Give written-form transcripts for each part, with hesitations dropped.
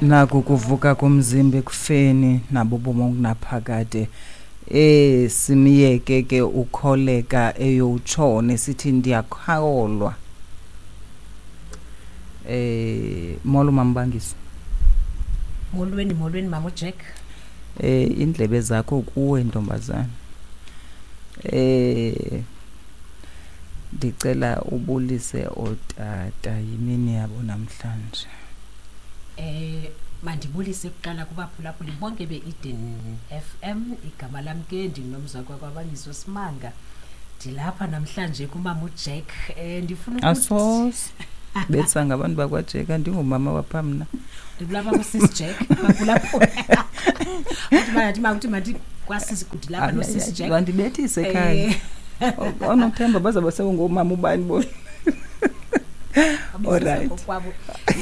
Naku kuvuka komzimba ekufeni nabo ubomi obunaphakade. Simyeke ke ukholeka eyowutshona sithi ndiyakholwa. Molo Mambangiso. Molweni, molweni mama uJack. Indlebe zakho kuwe ntombazana. Ndicela ubulise ootata, yimini yabo namhlanje. Mandibulise kuqala kubaphulaphuli bonke be-Eden FM. Igama lam ke ndinguNomzakwa kwaBangiso Simanga. Ndilapha namhlanje kumama uJack. Ndifuna ukuthi Asoze. Betsa ngabantu bakwaJack, andingumama wapha mna. Ndilapha kuSis Jack, baphulaphula. Uthi mandithi makuthi mandithi kwaSis, ndilapha noSis Jack. Bandibethise ekhaya. Onothemba bazawube sebengomama ubani bona. Alright. Kwabo.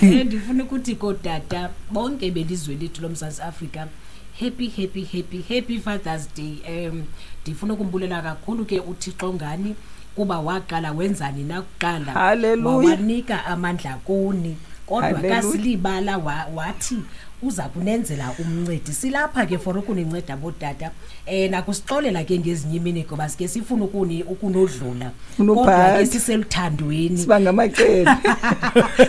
Ndifuna ukuthi kootata bonke belizwe lethu loMzantsi Afrika, happy, happy, happy, happy Father's Day. Ndifuna ukumbulela kakhulu ke uThixo ngani kuba waqala wenzani nakuqala. Hallelujah. Wawanika amandla kuni. Kodwa Hallelujah. kasilibala wathi uza kunenzela umncedi. Silapha ke for ukuninceda bootata. Nakusixolela ke ngezinye imini ngoba sike sifuna ukunodlula. Funa Kodwa ke uphatha. siseluthandweni. Siba ngamacele.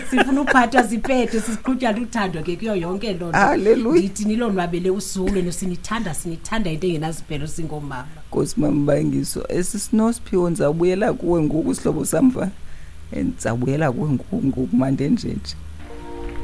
Sifuna uphathwa siphethe, sisiqhutywa luthando ke kuyo yonke loo nto. Hallelujah. Ndithi nilonwabele usuku lwenu, sinithanda, sinithanda into engenasiphelo singoomama. Nkosi Mambangiso, esi sinosiphiwo ndizawubuyela kuwe ngoku sihlobo samva. Ndizawubuyela kuwe ngoku, ngoku mandenjenje.